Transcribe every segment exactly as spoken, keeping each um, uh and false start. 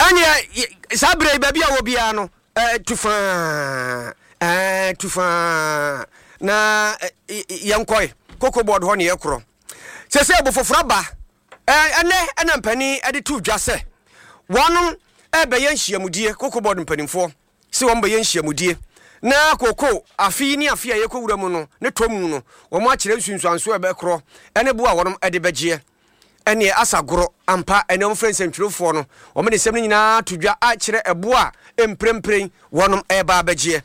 Ɛneɛ saa berɛ yi, baabi a wɔ biara no, tu faa, tu faa na yɛnkɔe Cocoa Board hɔ ne yɛkorɔ sɛ sɛ ɛbo foforɔ aba. Ɛnɛ ɛna mpanin de to dwa sɛ wɔnom ɛbɛyɛ nhyiamudie. Cocoa Board mpanimfoɔ sɛ wɔn bɛyɛ nhyiamudie na koko afe yi ne afe a yɛkɔ wura mu no ne tɔ mu no, wɔn akyerɛ nsunsuanso a ɛbɛkorɔ ɛne bo a wɔnom de bɛgyeɛ. Ɛneɛ asa gorɔ ampa. Ɛne wɔn frɛ nsɛntwerɛfoɔ no, wɔn de nsɛm no nyinaa to dwa akyerɛ ɛbo a mprempren wɔnom ɛreba abɛgyeɛ.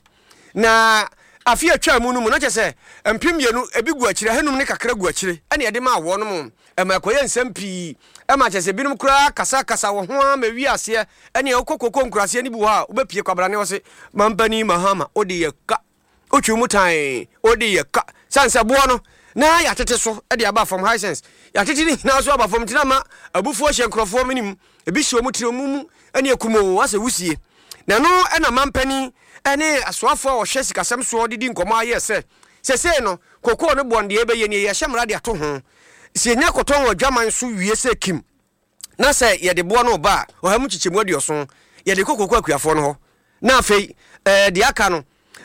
Na afe atwa mu no mu na kyerɛ sɛ mpem mmienu ebi gu akyire, ahanum ne kakra gu akyire, ɛne ɛde maa wɔnom. Ɛma ɛkɔyɛ nsɛm pii, ɛma kyerɛ sɛ binom koraa kasakasa wɔ ho ara ma wi aseɛ. Ɛne ɛwokɔ koko nkuraseɛ no bi wɔ hɔ a, wobɛpie kwabrane wɔ se mampani Mahama wode yɛ ka wotwi mu tan, wode yɛ ka sane sɛ boɔ no na yɛatete so de aba fam. Hisense yɛatete ne nyinaa so aba fam, nti na ma abufuo hyɛ nkurɔfoɔ menim ebi hyɛ wɔn tiri mu mu ɛne akumoo asɛ wusie. Na ɛno ɛna mampani ɛne asoafoɔ a wɔhwɛ sikasɛm soɔ de di nkɔmmɔ ayɛ sɛ sɛsei no kokoo no boɔ no deɛ ɛbɛyɛ nie. Yɛhyɛ mmara de ato ho sɛ yɛnya kɔtɔn wɔ adwaman so wie sɛ kim na sɛ yɛde boɔ no ba a, ɔha mu kyekyɛmu aduɔson yɛde kɔ koko akuafoɔ no hɔ, na afei ɛɛ deɛ aka no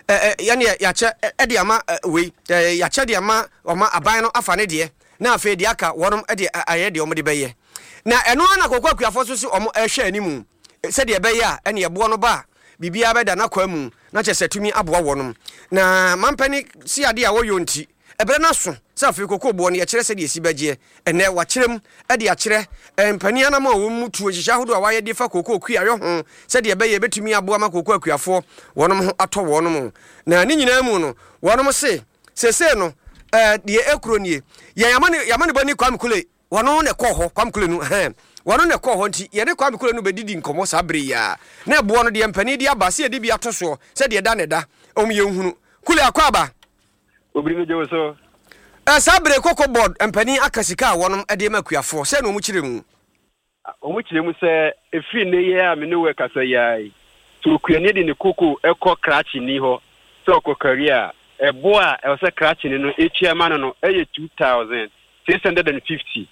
ɛɛ yɛne yɛakyɛ ɛde ama wei, ɛɛ yɛakyɛ de ama ɔma aban no afa ne deɛ, na afei deɛ aka wɔnom de ayɛ deɛ wɔn de bɛyɛ. Na ɛno ara na koko akuafoɔ so sɛ wɔn ɛhwɛ anim sɛdeɛ ɛbɛyɛ a ɛne ɛboɔ no ba a, biribiara bɛda n'akwan mu na kyerɛ sɛ tumi aboa wɔnom. Na mampani si adeɛ a wɔyɔ nti ɛberɛ no aso sɛ afei koko boɔ no yɛkyerɛ sɛdeɛ ɛsi bɛgyeɛ. Ɛnɛ wakyerɛ mu de akyerɛ mpanin anam a wɔn mu tuo nhyehyɛ ahodoɔ a wɔayɛ de fa koko kuayɔ ho sɛdeɛ ɛbɛyɛ ɛbɛtumi aboa ma koko akuafoɔ wɔnom ho atɔ wɔnom. Na ne nyinaa mu no, wɔnom se sesei no ɛɛ deɛ ekuro nie, yɛn yamane yamane bɔ ni Kwame Kule, wɔno na ɛkɔɔ hɔ. Kwame Kule no hɛn, wɔno na ɛkɔɔ hɔ, nti yɛne Kwame Kule no bɛdidi nkɔmmɔ saa bere yi a na ɛboɔ no deɛ mpanin de aba sɛ yɛde bi ato soɔ sɛdeɛ ɛda ne da ɔm yɛnhunu. Kule, akɔ aba. Obiri mi gye wo so. Ɛ saa bere Cocoa Board mpanin aka sika a wɔnom de ma akuafoɔ sɛ na wɔn kyerɛ mu. Wɔn kyerɛ mu sɛ efiri ne yɛ a me ne wo kasa yi ara yi, sɛ okuani de ne koko kɔ krakyeni hɔ sɛ ɔkɔ kari a, ɛbo a ɛwɔ sɛ krakyeni no etua ma no no ɛyɛ two thousand six hundred and fifty.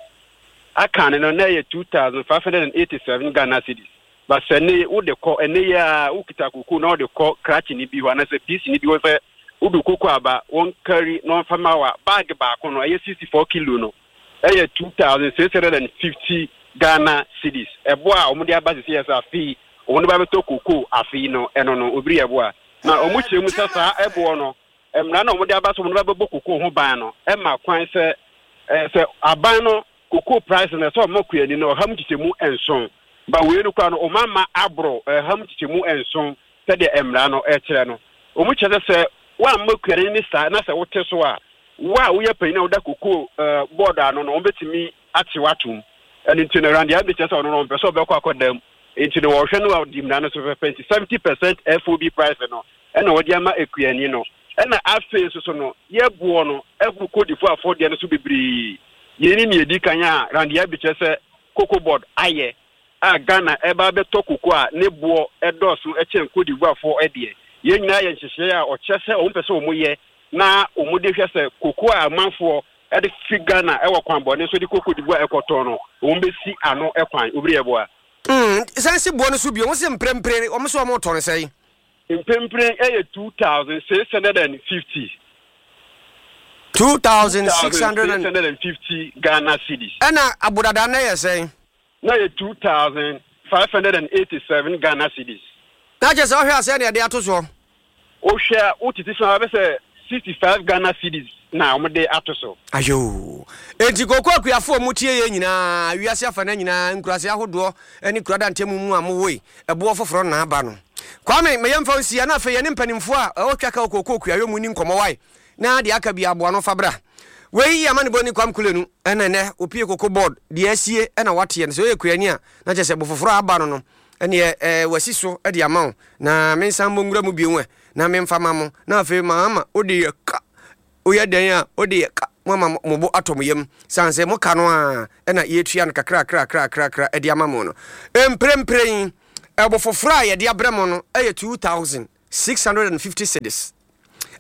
Aka ne no na ɛyɛ two thousand five hundred and eighty seven Ghana cedis. But sɛ ne wode kɔ ɛne yɛ a wokita koko na wode kɔ krakyeni bi hɔ anaasɛ P C ni bi hɔ sɛ wode koko aba wɔn kari na wɔmfa ma wa, bag baako no ɛyɛ sixty four kilo no ɛyɛ two thousand six hundred and fifty Ghana cedis. Ɛbo a wɔde aba sisi yɛ sɛ afei wɔn ba bɛtɔ koko afei no, ɛno no obiri ɛbo a na wɔn kyerɛ mu sɛ saa ɛboɔ no, mmara na wɔde aba so wɔn ba bɛbɔ koko ho ban no ɛma kwan sɛ ɛɛ sɛ aban no koko price no ɛsɛ ɔmo kuani no ɔha mu kyekyɛ mu nson ba wei no kora no, ɔmo ama aboro ɛha mu kyekyɛ mu nson sɛdeɛ mmara no ɛkyerɛ no. Wɔn kyerɛ sɛ sɛ wɔamma kuani ne saa na sɛ wote so a, wo a woyɛ panyin a woda koko ɛɛ board ano no, wɔn bɛtumi ate watom. Ɛno nti no, Randy Abbey kyerɛ sɛ ɔno no ɔmpɛ sɛ ɔbɛkɔ akɔda mu, nti no wɔhwɛ no a ɔdi mmara no so pɛpɛ, nti seventy percent F O B price no ɛna wɔde ama ekuani no. Ɛna afei nso so no, yɛboɔ no ɛboro Cote d'Ivoire afɔdeɛ no so bebree. Yɛn ni nea edi kan a Randy Abbey kyerɛ sɛ Cocoa Board ayɛ a Ghana ɛba abɛtɔ koko a ne boɔ ɛdɔɔso ɛkyɛn Cote d'Ivoire foɔ ɛdeɛ. Yɛn nyinaa yɛ nhyehyɛeɛ a ɔkyerɛ sɛ wɔn pɛ sɛ wɔn yɛ na wɔn de hwɛ sɛ koko a amanfoɔ ɛde fi Ghana ɛwɔ kwan bɔne so de kɔ Cote d'Ivoire ɛkɔtɔn no, wɔn bɛsi ano ɛkwan. Obiri ɛboa. San si boɔ no so bio, wɔn sɛ mprempren wɔn sɛ wɔn tɔ no sɛn? Mprempren ɛyɛ two thousand six hundred and fifty. Two thousand six hundred and hundred and fifty Ghana cedis. Ɛna abodada no yɛ sɛn? Na yɛ two thousand five hundred and eighty seven Ghana cedis. Na kyerɛ sɛ ɔhwɛ asɛ ne yɛde ato soɔ. Wohwɛ a, wotete so a, bɛ sɛ sixty five Ghana cedis na wɔde ato so. Ayo, enti koko akuafoɔ mu tie yɛ nyinaa, wiase afa no nyinaa, nkurase ahodoɔ ne kurada ntɛmu mu a mowoe, ɛboɔ foforɔ na aba no. Kwame, meyɛ mfa nsia na afei yɛne mpanimfoɔ a ɛwɔ twa ka wɔ koko kuayɔ mu ni nkɔmmɔ wae na deɛ aka bi aboa no fa bra. Wei yɛ ama ne bɔ ni Kwame Kulenu. Ɛna ɛnɛ opie Cocoa Board deɛ asie ɛna wateɛ no sɛ ɔyɛ kuani a, na kyerɛ sɛ bo foforɔ a aba no no ɛneɛ ɛɛ wasi so de ama wo. Na mensan mmɔ nwura mu bio ɛ na memfa ma mo. Na afei maama wode yɛ ka, woyɛ dɛn a wode yɛ ka mo ama mo bo atɔ mo yam san sɛ mo ka no a ɛna yɛtua no kakra kakra kakra kakra de ama mo no. Mprempren ɛbo foforɔ a yɛde abrɛ mo no ɛyɛ two thousand six hundred and fifty cedis.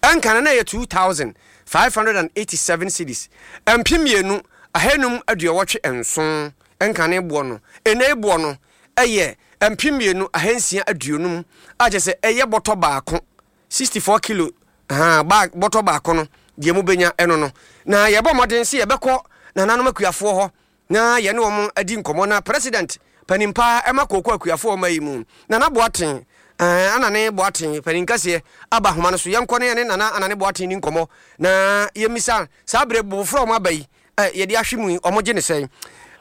Ɛnka no na ɛyɛ two thousand five hundred and eighty seven cedis, mpem mmienu ahanum aduɔwɔtwe nson ɛnka ne boɔ no. Ɛnɛ boɔ no ɛyɛ mpem mmienu ahansia aduonum a kyerɛ sɛ ɛyɛ bɔtɔ baako sixty four kilo ahaa bag bɔtɔ baako no deɛ mobɛnya ɛno no na yɛbɔ mmɔden sɛ yɛbɛkɔ nananom akuafoɔ hɔ na yɛne wɔn adi nkɔmmɔ na president panin paa ɛma kooko akuafoɔ ɔma yi mu Nana Boateng ɛɛ Anane Boateng panin kɛseɛ aba ahoma no so yɛnkɔ na yɛne Nana Anane Boateng ni nkɔmmɔ na yɛmmisa saa berɛ bofoforɔ a wɔn aba yi ɛ yɛde ahwe mu yi wɔn gye ne sɛn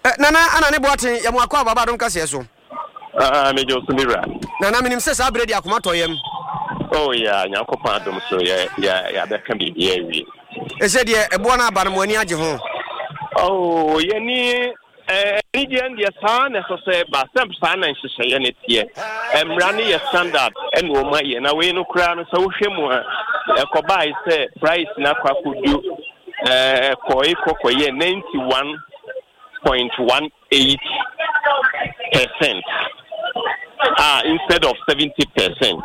ɛ Nana Anane Boateng yɛ mo akɔ aba adom kaseɛ so. Ah, megye wo so me wura. Nana menim sɛ saa berɛ di akoma tɔ yam. Oh yeah, Nyankopɔn adom so yɛ yɛ yɛabɛka biribi awie. Ɛsɛ deɛ ɛboɔ no aba no mo ani agye ho. Oh, yɛni anigyeɛ no deɛ saa na ɛsɛ sɛ ɛba sɛ saa na nhyehyɛeɛ no teɛ. Mmara no yɛ standard ɛna wɔn ayɛ na wei no koraa no sɛ wohwɛ mu a ɛkɔbae sɛ price no akɔ akɔdu ɛkɔe kɔkɔyɛ ninety one point one eight percent a instead of seventy percent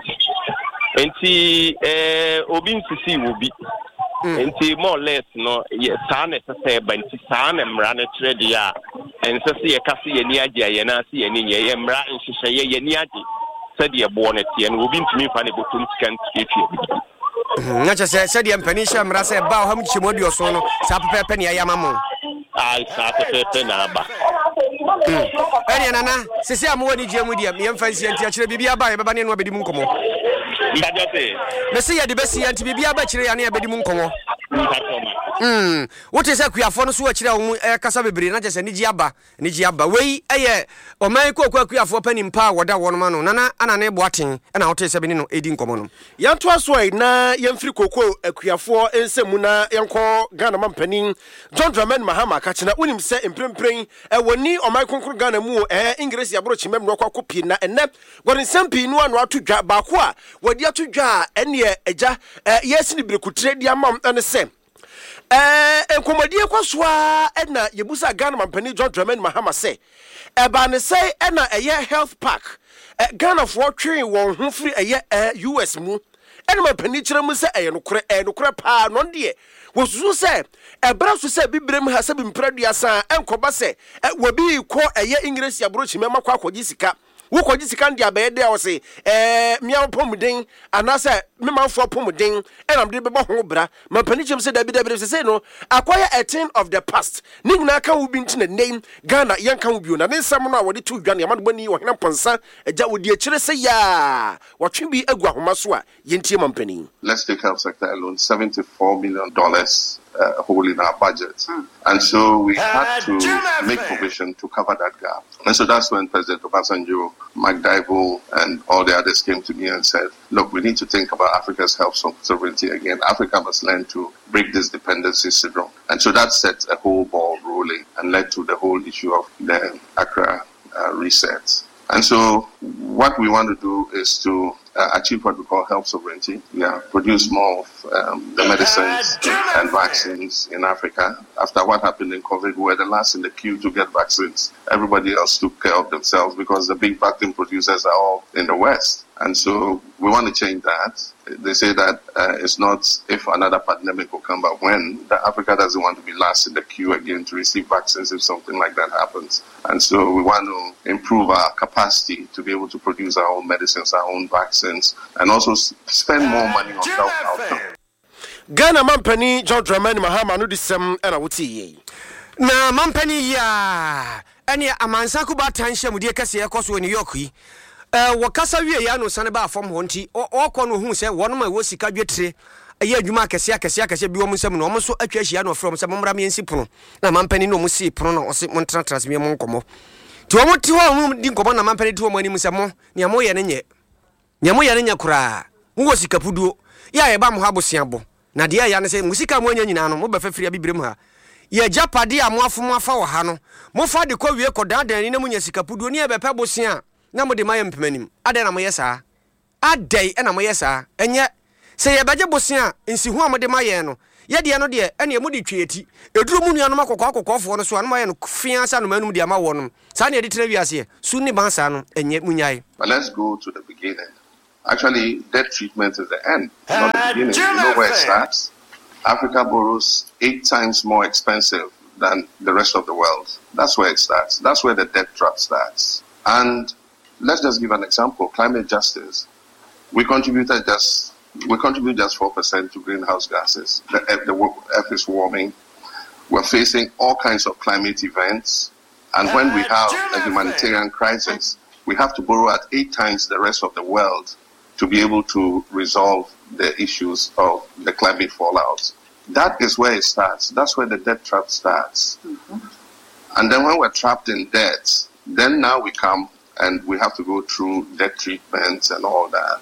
nti eh, obi nsisi wɔ bi mm. nti more or less no yɛ saa na ɛsɛ sɛ ɛba nti saa na mmara no kyerɛ deɛ a ɛnsɛ sɛ yɛka sɛ yɛni agye a yɛn ase yɛni nyɛ yɛ mmara nhyehyɛeɛ yɛni agye sɛdeɛ boɔ no teɛ no obi ntumi mfa ne bɔtɔm sika ntuatua bi. Mhm, na kyerɛ sɛ sɛdeɛ mpanin hyɛ mmara sɛ ɛba ɔha mu kyekyɛmu aduɔson no saa pɛpɛɛpɛ ne ayɛ ama mo. Ae, saa pɛpɛɛpɛ na aba. Mm. Ɛneɛ nana, sese a mowɔ anigyeɛ mu deɛ yɛmfa nsia nti akyerɛ biribi aba a yɛbɛba ne ɛno abɛdi mu nkɔmmɔ. Mpakyɛ se. Mese yɛde bɛsi nti biribi aba akyire yɛ ne yɛbɛdi mu nkɔmmɔ. Mpakyɛ ma. Mm. Wote sɛ akuafoɔ no so akyire a wɔn ɛkasa bebree na kyerɛ sɛ anigyeɛ aba. Anigye aba. Wei yɛ ɔman yi kooko akuafoɔ panin pa a wɔda wɔnom ano, Nana Anane Boateng na wotee sɛ me ne no redi nkɔmmɔ no. Yɛntoa so ɛ na yɛmfiri kooko akuafoɔ nsɛm mu na yɛnkɔ Ghana mampanin John Dramani Mahama akakyena. Wonim sɛ mprempren wɔnni ɔman kronkron Ghana mu o, ɛɛ Engiresi aborɔkyimam na wɔakɔ akɔpie na ɛnnɛ wɔde nsɛm pii no ano ato dwa. Baako a wɔde ato dwa a ɛneɛ agya yɛresi no birikutire de ama ne sɛ, Ɛɛ, nkɔmmɔdie kɔ so ara na yɛbusaa Ghana mampanin John Dramani Mahama sɛ, ɛbaa ne sɛn na ɛyɛ health park Ghanafoɔ twee wɔn ho firi ɛyɛ U S mu? Ɛna mampanin kyerɛ mu sɛ ɛyɛ nokorɛ, ɛyɛ nokorɛ paa, na ɔno deɛ wɔsusu sɛ ɛberɛ so sɛ bibirem ha sɛ bi mprɛ aduasa a ɛnkɔba sɛ wɔbi rekɔ ɛyɛ Engiresi aborɔkyima mu akɔ akɔgye sika. Wokɔgye sika no de abɛyɛ dɛ a ɔse ɛɛ mea apɔmuden anaasɛ me manfoɔ apɔmuden ɛna mede bɛbɔ ho bra. Mampanin kyerɛ mu sɛ dabi dabi dabi sesei no akɔyɛ a thing of the past. Ne nyinaa ka ho bi nti na nnɛ yi Ghana yɛnka ho bio. Na ne nsɛm no a wɔde too dwa no yɛma no bɔni Ɔhene Amponsah agya ɔdi akyire sɛ yaa wɔtwe bi agu ahoma so a yɛntie mampanin. Let's take health sector alone, seventy four million dollars uh, hole in our budget. Mm. And so we had to make provision to cover that gap. And so that's when President Obasanjo, Mike Dybul, and all the others came to me and said, "Look, we need to think about Africa's health sovereignty again. Africa must learn to break this dependency syndrome." And so that set a whole ball rolling and led to the whole issue of the Accra uh, reset. And so what we want to do is to uh, achieve what we call health sovereignty. Yeah, produce more of um, the medicines and vaccines in Africa. After what happened in COVID, we were the last in the queue to get vaccines. Everybody else took care of themselves because the big vaccine producers are all in the West. And so we want to change that. They say that uh, it's not if another pandemic will come, but when. That Africa doesn't want to be last in the queue again to receive vaccines if something like that happens. And so we want to improve our capacity to be able to produce our own medicines, our own vaccines, and also spend more money on health outcomes. Ghana mampanin John Dramani Mahama no de sɛm na wotee yei. Na mampanin yi a ɛne amansan kubaatan nhyiamudie kɛseɛ ɛkɔ so wɔ New York yi, wɔkasa wieeɛ a na ɔsane baa fam hɔ nti ɔrekɔ no ɔhuu sɛ wɔnom a ɛwɔ sika dwetire yɛ adwuma akɛseɛ akɛseɛ akɛseɛ bi wɔn nsam no wɔn nso atwa ahyia na ɔfrɛ wɔn sɛ mommra mmɛnsi pono na mampanin ne wɔn sii pono na ɔse montenatena ase mmɛmmɔ nkɔmmɔ nti wɔn te hɔ a wɔn di nkɔmmɔ na mampanin te wɔn anim sɛ mo nea moyɛ no nyɛ nea moyɛ no nyɛ koraa mowɔ sika puduo yɛ a yɛba mo ha bosea bɔ na deɛ ɛya ne sɛ mo sika a moanya nyinaa no mobɛfa firi Abibirem ha. Yɛ agyapadeɛ a moafom afa wɔ ha no mofa de kɔ wie kɔdaadaa ani na monya sika puduo ne yɛbɛpɛ bosea a na mode ma yɛ mpemanim. Adɛn na moyɛ saa? Adɛn na moyɛ saa? Ɛnyɛ sɛ yɛbɛgye bosea a nsiho a mode ma yɛn no, yɛ deɛ no deɛ, ɛnneɛ mode twe yɛn ti. Ɛduru mo nuanom akɔkɔɔ akɔkɔɔfoɔ no so a, na moayɛ no feaa sɛ anomaa anum de ama wɔnom. Saa na yɛde tena wiaseɛ? Su ne ban saa no, ɛnyɛ. Monnyae. But let's go to the beginning. Actually, debt treatment is the end, not the beginning. You know where it starts? Africa borrows eight times more expensive than the rest of the world. That's where it starts. That's where the debt trap starts. And Let's just give an example: climate justice. We contributed just we contribute just four percent to greenhouse gases. The, the earth is warming. We're facing all kinds of climate events, and when we have a humanitarian crisis, we have to borrow at eight times the rest of the world to be able to resolve the issues of the climate fallout. That is where it starts. That's where the debt trap starts. Mm-hmm. And then when we're trapped in debt, then now we come and we have to go through debt treatments and all that.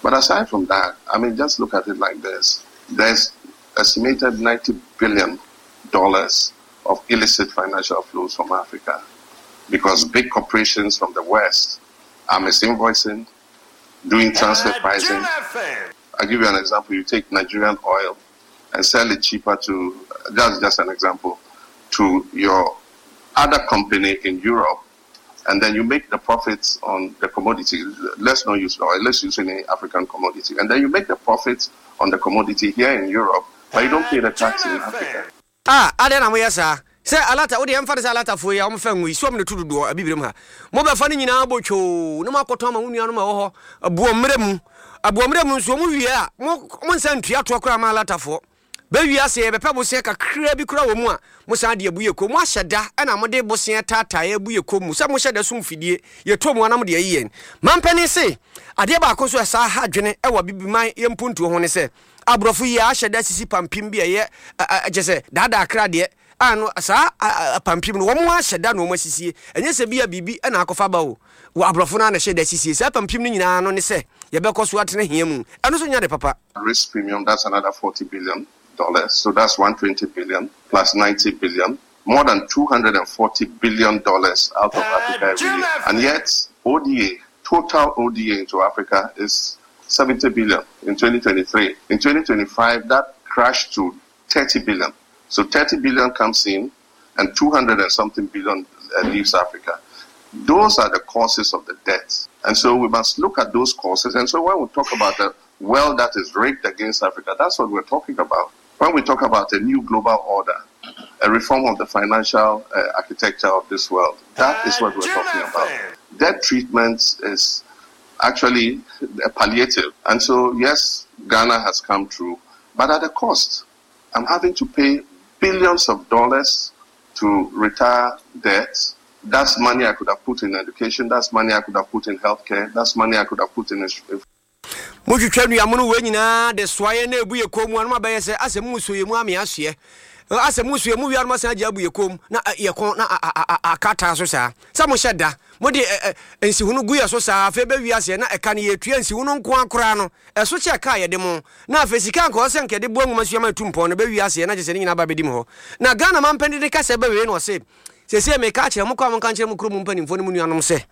But aside from that, I mean, just look at it like this. There's estimated ninety billion dollars of illicit financial flows from Africa because big corporations from the West are misinvoicing, doing transfer pricing. I'll give you an example. You take Nigerian oil and sell it cheaper to, that's just an example, to your other company in Europe, and then you make the profits on the commodity. Let's not use oil, let's use any African commodity. And then you make the profits on the commodity here in Europe, but you don't pay the tax in Africa. Ah, adɛn na moyɛ saa? Sɛ alata wode ɛmfa ne sɛ alatafoɔ yi a wɔmfa ngu yi so ɔm ne to dodoɔ abibirem ha mobɛfa no nyinaa bɔ twoo na moakɔtɔn ama wo nuanom a ɛwɔ hɔ aboɔmmerɛ mu aboɔmmerɛ mu nso ɔmo wie a mo mo nsa ntua toɔ koraa ma alatafoɔ bɛwie ase yɛbɛpɛ bosea kakraa bi koraa wɔ mu a mo san de abu yɛ kɔn mu ahyɛ da ɛna mode bosea taataa abu yɛ kɔn mu sɛ mohyɛ da sum fidie yɛtɔ mu anam de ayi yɛn mampanin se adeɛ baako nso ɛsaa ha adwene ɛwɔ abibiman yɛ mpuntuo ho ne sɛ aborɔfo yi ahyɛ da sisi pampim bi a ɛyɛ kyɛ sɛ daadaa kra deɛ a no saa pampim no wɔn ahyɛ da na wɔn asisie ɛnyɛ sɛ bi a biribi ɛna akɔfa ba o wɔ aborɔfo no a na hyɛ da sisie saa pampim no nyinaa no ne sɛ yɛbɛkɔ so atena hia mu ɛno nso nya de papa. Risk premium, that's another forty billion dollars. So that's one hundred twenty billion plus ninety billion, more than two hundred forty billion dollars out of Africa every year. And yet, O D A, total O D A into Africa is seventy billion in twenty twenty-three. In twenty twenty-five, that crashed to thirty billion. So thirty billion comes in and two hundred and something billion uh, leaves Africa. Those are the causes of the debt. And so we must look at those causes. And so when we talk about the world that is rigged against Africa, that's what we're talking about. When we talk about a new global order, a reform of the financial uh, architecture of this world, that is what we're talking about. Debt treatment is actually a palliative. And so, yes, Ghana has come through, but at a cost. I'm having to pay billions of dollars to retire debt. That's money I could have put in education. That's money I could have put in healthcare. That's money I could have put in... Motwitwa nnuamono wei nyinaa de soaeɛ na ebu yɛ kɔn mu anum abɛyɛ sɛ asɛ mu nsuo yɛ mu ame asoɛ asɛ mu nsuo yɛ mu wia anum asan agye abu yɛ kɔn mu na yɛ kɔn na akata so saa sɛ mo hyɛ da mo de nsihunu gu yɛ so saa afei bɛ wia aseɛ na ɛka no yɛtua nsihunu nko akora no ɛso kyɛ ka yɛde mo na afei sika nka ɔsɛ nka yɛde boa nwoma sua ma etu mpɔn no bɛ wia aseɛ na kyɛ sɛ ne nyinaa ba bɛdi mu hɔ na Ghana mampanin de kasa bɛwie no ɔse sɛsɛ meka kyerɛ mo kɔ a mo nka nkyerɛ mo kurom mpanimfoɔ ne mo nuanom sɛ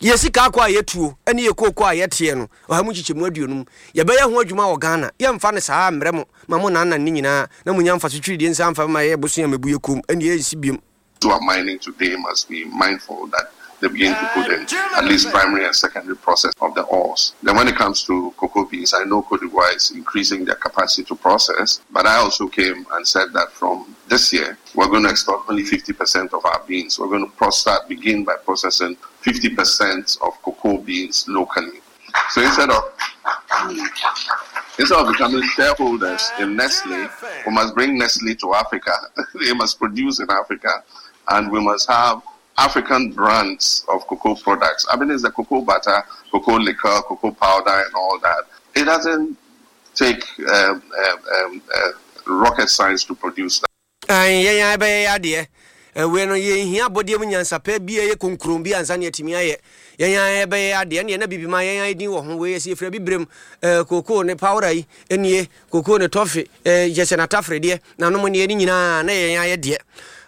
yɛ sika akɔ a yɛtuo ɛne yɛ kooko a yɛteɛ no ɔha mu nkyekyɛmu aduonum yɛbɛyɛ ho adwuma wɔ Ghana yɛmfa no saa mmerɛ mo ma mo nannan ne nyinaa na mo nya mfa so twiridie nsa mfa ma yɛ bosea mabu yɛ kom ɛne yɛnsi biom. Who are mining today must be mindful that they begin to put in at least primary and secondary process of the ores. Then when it comes to cocoa beans, I know Cote d'Ivoire is increasing their capacity to process, but I also came and said that from this year, we're going to export only fifty percent of our beans. We're going to process, begin by processing fifty percent of cocoa beans locally. So instead of, instead of becoming shareholders in Nestle, we must bring Nestle to Africa. They must produce in Africa, and we must have African brands of cocoa products. I mean, it's the cocoa butter, cocoa liquor, cocoa powder, and all that. It doesn't take um, um, um, uh, rocket science to produce that. Aye, yeah, yeah, we no ye hia body mu nyansa pa bi ye konkron bi ansa na atimi aye yan yan be ade ne na bibi ma yan yan din wo ho we ye frɛ bibrem koko ne powder yi enie koko ne toffee jese na tafre de na no ne ni nyina na yan yan de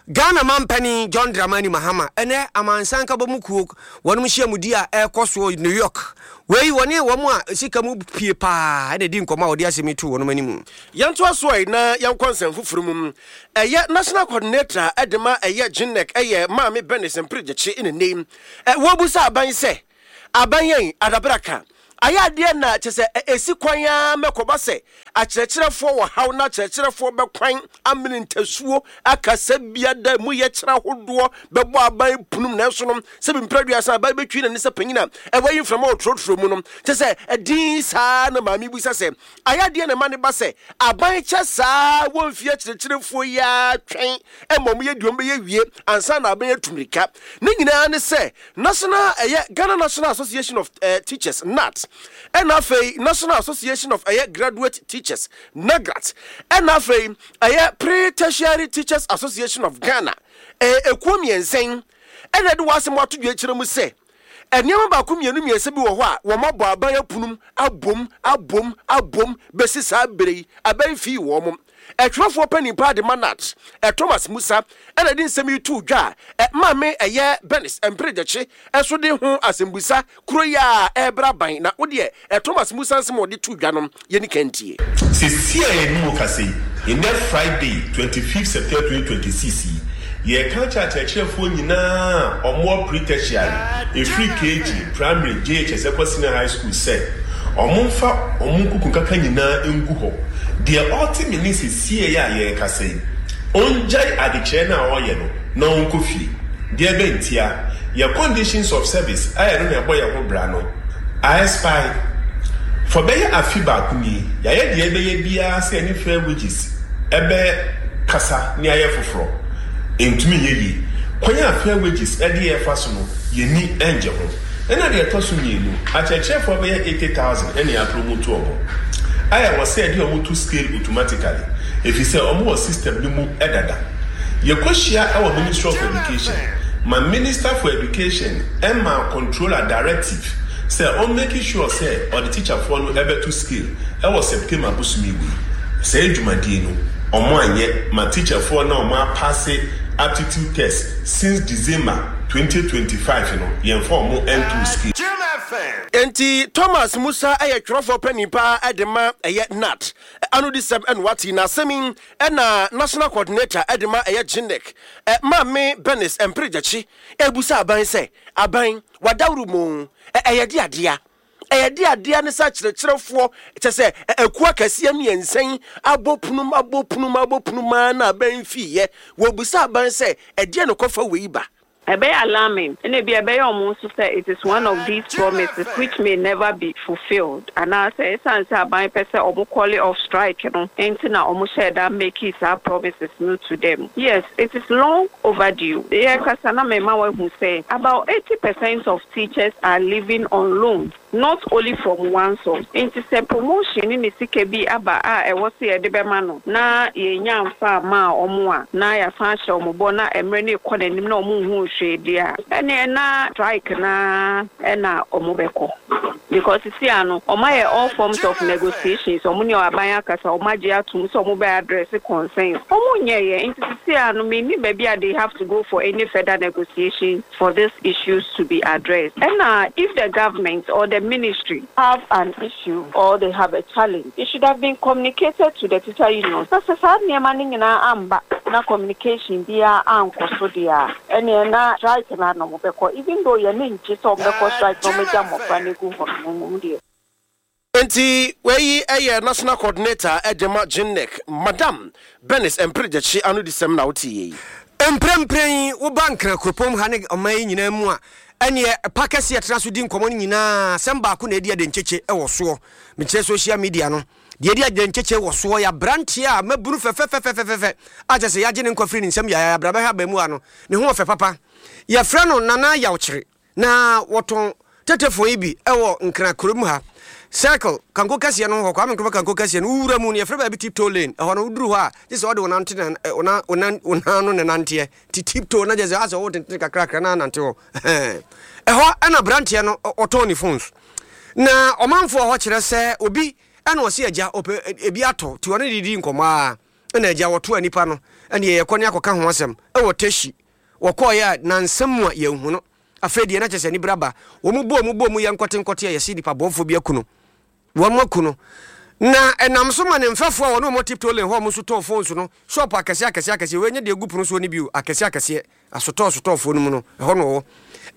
Ghana mampani John Dramani Mahama ene amansan ka bomu kuo wonum hyiamudi a ekɔ New York wei woni wo mu a sika mu pie pa e de di nkɔmɔ a wodi asemi tu wonom animu yɛnto aso ai na yɛnkɔ nsɛm foforo mu ɛyɛ national coordinator edema ɛyɛ Jinek ɛyɛ Maame Benis Mpirigyechi ne name e wobusa aban sɛ aban yɛn adabraka Ayɛ adeɛ na kyɛ sɛ ɛsi kwan ara mɛkɔba sɛ akyerɛkyerɛfoɔ wɔ haw na akyerɛkyerɛfoɔ bɛkwan amene ntasuo akasa biada mu yɛ kyerɛ ahodoɔ bɛbɔ aban punum, nanso no sɛbi mprɛduasa aban bɛtwi n'ani sɛ panyin a ɛwɔ yi mframa wɔ torotoro mu no, kyɛ sɛ ɛdin saa. Na maame busa sɛ ayɛ adeɛ na ɛma ne ba sɛ aban kyɛ saa wɔmfie akyerɛkyerɛfoɔ yi ara twɛn ɛma ɔmo yɛ deɛ ɔmo bɛyɛ wie ansa na aban atu mirika. Ne nyinaa ne sɛ national ɛyɛ Ghana National Association of uh, Teachers, G N A T, ɛna afei National Association of ɛyɛ Graduate Teachers, NAGRAT, ɛna afei ɛyɛ Pre-Tertiary Teachers Association of Ghana, ɛyɛ ekuo mmiɛnsa ɛna ɛde wɔn asɛm ato dwa akyerɛ mu sɛ nneɛma baako, mmienu, mmiɛnsa bi wɔ hɔ a wɔn abɔ aban apunum abom abom abom bɛsi saa bere yi aban fii wɔn mo. Ɛtwerɛfoɔ panin paa de ma G N A T, Thomas Musa, ɛna de nsɛm yi too dwa a maame ɛyɛ Bernice Mpere-Gyakye ɛso de ho asɛmbusa kuro yi a ɛrebra ban na wodeɛ Thomas Musa nsɛm a ɔde too dwa no yɛni kantie. Sisi a yɛne mu kasa yi, nnɛ Friday twenty-fifth September twenty twenty-six yi, yɛka kyerɛ akyerɛkyerɛfoɔ nyinaa ɔmoɔ pre-tertiary, ɛfiri K G, primary, J H S ɛkɔ senior high school, sɛ ɔmo mfa ɔmo nkuku nkaka nyinaa ngu hɔ. Deɛ ɔte me ne sesie a yɛrekasa yi, ɔngyae adekyerɛ no a ɔreyɛ no na ɔnkɔ fie. Deɛ bɛntia yɛ conditions of service a yɛno na ɛbɔ yɛn ho bra no a expire for bɛyɛ afe baako nie. Yɛayɛ deɛ ɛbɛyɛ biara sɛ ɛne Fair Wages ɛbɛ kasa ne ayɛ foforɔ, ntumi nyɛ yie. Kwan a Fair Wages ɛde yɛ fa so no, yɛni ɛngye ho. Ɛna deɛ ɛtɔ so mmienu, akyerɛkyerɛfoɔ bɛyɛ eighty thousand ɛne apromote wɔn a ɛwɔ sɛ ɛde wɔn to scale automatically, ɛfiri sɛ wɔn wɔ system no mu ɛdada. Yɛkɔhyia ɛwɔ Ministry of Education ma Minister for Education ɛma controller directive sɛ ɔn make sure sɛ ɔde teacherfoɔ no ɛbɛto scale ɛwɔ September bosome wei. Sɛ dwumadie no ɔmo anyɛ ma teacherfoɔ na ɔmo apass aptitude test since December twenty twenty-five no, yɛmfa ɔmo ɛnto scale. Enti Thomas Musa ɛyɛ twerɛfoɔ panin paa ɛde ma ɛyɛ G N A T ano de sɛm ɛna wate na asɛm yi. Ɛna national coordinator ɛde ma ɛyɛ G N E C, Maame Bernice Mpere-Gyakye, ebusa aban sɛ aban wadawuro mu ɛyɛ de adeɛ ɛyɛ de adeɛ ne sɛ akyerɛkyerɛfoɔ kyɛ sɛ akuo akɛseɛ mmiɛnsa yi abɔ punum abɔ punum abɔ punum aa na aban fiiɛ. Wɔbusa aban sɛ ɛdeɛ no kɔfa wei ba. Ɛbɛyɛ alarming, ɛna ebi ɛbɛyɛ ɔmo nso sɛ it is one of these promises which may never be fulfilled, anaasɛ esan sɛ aban pɛ sɛ ɔmo call off strike no nti na ɔmo hyɛ da make saa promises no to them. Yes, it is long overdue. Yɛ kasa na mɛma wahu sɛ about eighty percent of teachers are living on loans, not only from one source. Nti sɛ promotion ne ne sika bi aba a ɛwɔ sɛ yɛde bɛma no na yɛnya mfa ama a ɔmo a na yɛasan ahyɛ ɔmo bɔ na mmerɛ no ekɔ n'anim na ɔmo nhu hwee deɛ a, ɛneɛ na strike na ɛna ɔmo bɛkɔ, because sisi ano ɔmo ayɛ all forms of negotiations, ɔmo ne aban akasa, ɔmo agye atum sɛ ɔmo bɛ address concerns, ɔmo nyɛ yɛ. Nti sisi ano mi baabi a they have to go for any further negotiation for these issues to be addressed. Ɛna if the government or the ministry have an issue or they have a challenge, it should have been communicated to the teacher union. Sɛ sɛ saa nneɛma no nyinaa amba na communication biara ankɔ so deɛ a, ɛneɛ na strike na na ɔmo bɛkɔ, even though yɛn ne ngye sɛ ɔmo bɛkɔ strike na ɔmo gya mmɔfra no egu hɔ no mu deɛ. Nti wei ɛyɛ national coordinator ɛde ma G N E C, Madam Bernice Mpere-Gyakye ano di sɛm na wote yei. Mprempren woba Nkra kuropɔn ha ne ɔman yi nyinaa mu a, ɛneɛ pa kɛseɛ tena so di nkɔmmɔ no nyinaa, asɛm baako na ɛdi adenkyekye ɛwɔ soɔ. Mekyerɛ social media no deɛ, ɛdi adenkyekye wɔ soɔ yɛ aberanteɛ a mabunu fɛfɛfɛfɛfɛ a kyɛ sɛ yɛagye ne nkwa firi ne nsɛm yɛayɛ abra bɛhwɛ aba mu a no ne ho ɔfɛ papa. Yɛfrɛ no Nana Yawkyere na wɔtɔn tetefo yi bi ɛwɔ Nkra kurom ha, Circle kanko kɛseɛ no hɔ, Kwame Nkrumah kanko kɛseɛ no wowura mu no, yɛfrɛ baabi Tiptoe Lane. Ɛhɔ no woduru hɔ a, gye sɛ wɔde wo nante na wo nan no ne nanteɛ ti tiptoe na gye sɛ asɛ wɔwɔ tentene kakrakra na anante hɔ. Ɛhɔ ɛna aberanteɛ no ɔtɔn ne phones na ɔmanfoɔ hɔ kyerɛ sɛ obi ɛna ɔse agya ɔpɛ ebi atɔ nti ɔne didi nkɔmmɔ a ɛna agya wɔto nipa no ɛne yɛkɔ ne akɔka ho asɛm ɛwɔ Teshie. Wɔkɔɔyɛ a nansɛm mu a yɛnhu no. Afei deɛ na kyerɛ sɛ nibra ba wɔn mu bɔ mu bɔ mu yɛ nkɔte nkɔte a yɛsi nipa bɔnfoɔ bi aku no, wɔn mu aku no, na ɛnam so ma ne mfɛfoɔ a wɔne wɔn Tiptoe Lane hɔ, wɔn nso tɔn phones no, shop akɛseɛ akɛseɛ akɛseɛ wei nye deɛ egu pono soɔ no bio, akɛseɛ akɛseɛ asotɔɔ sotɔɔfoɔ no mu no, ɛhɔ no wɔwɔ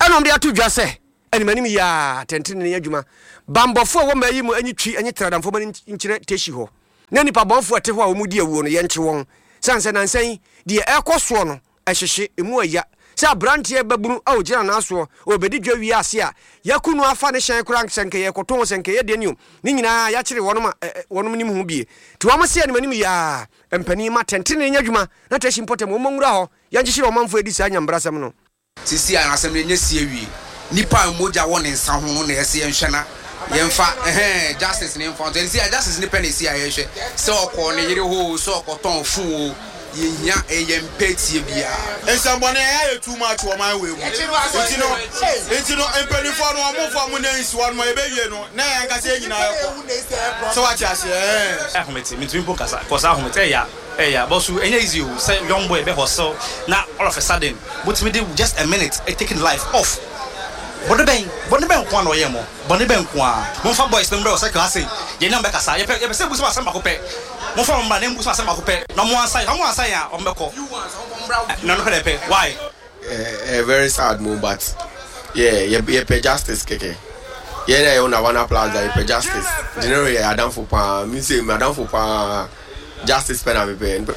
ɛna wɔn de ato dwa sɛ Animanim yi a atɛntenenee adwuma. Bambɔfoɔ a ɛwɔ mmaa yi mu nyi twi nye tradamfoɔ ma no nkyerɛ Teshie hɔ. Na nnipa bɔnfoɔ a ɛte hɔ a wɔdi awuo no, yɛnkye wɔn. Sane sɛ nansa yi, deɛ ɛrekɔ soɔ no, ɛhyehye, emu ɛya. Sɛ aberanteɛ babunu a ɔgyina nan soɔ, ɔrebɛdi dwa wie ase a, yɛaku no afa ne hyɛn koraa, sɛ nka yɛrekɔtɔn o, sɛ nka ɛyɛ deɛn o, ne nyinaa yɛakyere wɔnom a wɔnom nim ho bie. Nti wɔn se animanim yi ara, mpanin ma atɛntenenee nyɛ adwuma na Teshie mpɔtam wɔmmɔ nwura hɔ, yɛnkyekyere ɔmanfoɔ a ɛdi saa nyambrasɛm no. Seesei a asɛm no anya si awie, nipa a mogya wɔ ne nsa ho no na ɛsɛ yɛnhwɛ na yɛmfa ɛhɛn justice no mfa nto. Seesei a justice no pɛ na ɛsi a yɛhwɛ sɛ ɔkɔɔ ne yere hɔ o, sɛ ɔkɔtɔn phone o, yɛnhia, yɛmpɛ tie biara. Nsɛmbɔne ɛyɛ ayɛ too much wɔ ɔman wei mu nti no nti no mpaninfoɔ no ɔmo nfa ɔmo nan nsi hɔ nom yɛbɛwie no na yɛn ankasa yɛn nyinaa yɛkɔ sɛ wate aseɛ ɛɛn. Ahomete, mentumi mpo nkasa cause ahomete ɛya. Ɛyɛ but so ɛnyɛ easy o sɛ young boy bɛ hustle na all of a sudden motumi de just a minute take ne life off. Bɔne bɛn bɔne bɛn nkoaa na ɔyɛɛ mo? Bɔne bɛn nkoaa? Momfa boys no mbrɛ wɔ circle ha sei yɛne wɔn bɛkasa yɛpɛ yɛpɛ sɛ yɛbusa wɔn asɛm baako pɛ momfa wɔn mmra na yɛmbusa wɔn asɛm baako pɛ na wɔn ansa yɛn wɔn ansa yɛn a wɔn bɛkɔ na ɛno pɛ na yɛpɛ why? Ɛyɛ very sad mo but yeah yɛpɛ justice kɛkɛ yɛn a yɛwɔ Navana Plaza yɛpɛ justice Gennaro yɛ adamfo paa me se me adamfo paa justice pɛ na mepɛ.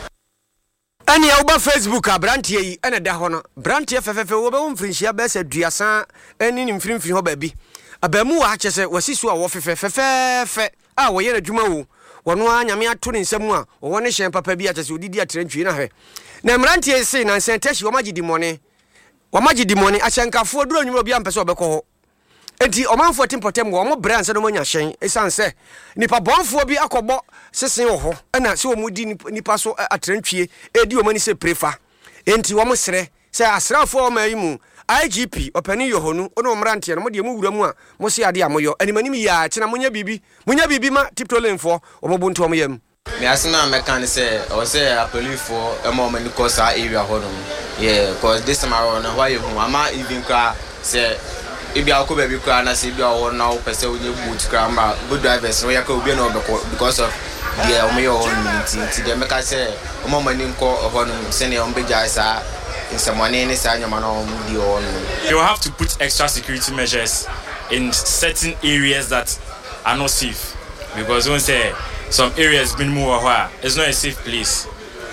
Ɛneɛ woba Facebook a abranteɛ yi na ɛda hɔ no, branteɛ fɛfɛɛfɛ wɔbɛwɔ mfirinhyia bɛyɛ sɛ aduasa ne ne mfinimfini hɔ baabi. Abaamuwa kyerɛ sɛ wasi so a wɔfefɛ fɛfɛɛfɛ a wɔyɛ n'adwuma o, wɔno ara Nyame ato ne nsa mu a wɔwɔ ne hyɛn papa bi a kyerɛ sɛ ɔde di atrantwie na hwɛ. Na mmeranteɛ yi se nansa Teshie wɔn agye dimmɔne, wɔn agye dimmɔne, ahyɛnkafoɔ duru anwummerɛ obiara mpɛ sɛ ɔbɛkɔ hɔ. Enti ɔmanfoɔ te mpɔtam hɔ, wɔbrɛ ansa na wɔanya hyɛn esiane sɛ nnipa bɔnfoɔ bi akɔbɔ sese wɔ hɔ na sɛ wɔdi nnipa so atrantwie redi wɔn ani sɛ pire fa. Enti wɔsrɛ sɛ asraafoɔ a wɔma yi mu, I G P, Ɔpanin Yohonu, wo ne wo mmeranteɛ no, mo deɛ mo wura mu a mose adeɛ a moyɔ animanim yie ara, kyena monyɛ biribi, monyɛ biribi ma Tiptoe Lane foɔ, wɔn bo nto wɔn yam. Me asɛm a mɛka ne sɛ ɛwɔ sɛ apolifoɔ ma wɔn ani kɔ saa area hɔ nom, yeah, cause this time around no ɛhɔ ayɛ hu ama even koraa sɛ ebia wokɔ baabi koraa na sɛ ebia wɔ hɔ na wopɛ sɛ wonyɛ boat koraa ma boat drivers no woyɛ koraa obiara na ɔbɛkɔ because of deɛ wɔyɛ wɔ hɔ nom nti nti deɛ mɛka sɛ wɔma wɔn ani nkɔ ɛhɔ nom sɛdeɛ wɔbɛgyae saa nsɛmɔne ne saa nneɛma no a wɔdi wɔ hɔ nom. They will have to put extra security measures in certain areas that are not safe because wohu sɛ some areas binom wɔ hɔ a it's not a safe place.